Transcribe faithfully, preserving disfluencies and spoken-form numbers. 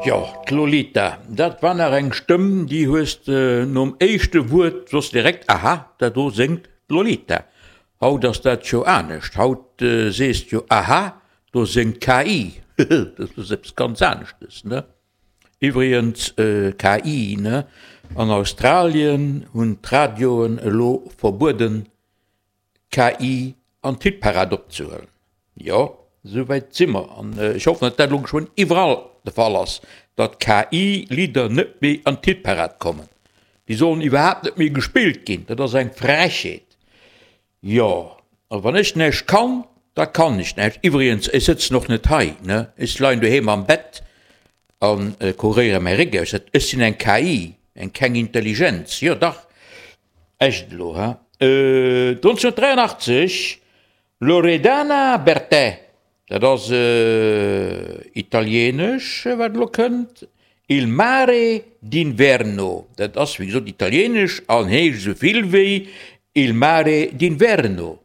Jo, d'Lolita, dat war nach eng Stëmm, déi hues de nom éischte Wuert wosst direkt, aha, dat do séngt d'Lolita. Haut ass dat jo anescht, haut sees de jo, aha, do séngt d'K I. Dat ass eppes ganz aneschtes, ne? Iwwregens, K I, ne, an Australien hunn d'Radioen elo verbueden, K I an d'Hitparad opzehuelen. Jo, esou wäit si mer. An ech hoffen, datt dat elo geschwënn iwwerall de Fall ass, datt K I-Lidder net méi an d'Hitparad kommen. Déi sollen iwwerhaapt net méi gespillt ginn. Dat ass eng Frechheet. Jo, a wann ech näischt kann, da kann ech näischt. Iwwregens, ech sëtzen och net hei, ne, ech leien doheem am Bett a kuréiere mäi Réck aus. Ech sinn eng K I, eng keng Intelligenz. Jo dach, echt elo, he? nonzénhunnertdräianachtzeg, Loredana Bertè, dat ass italieenesch, wat elo kënnt, Il mare d'inverno, dat ass wéi gesot italieenesch an heescht esou vill wéi Il mare d'inverno.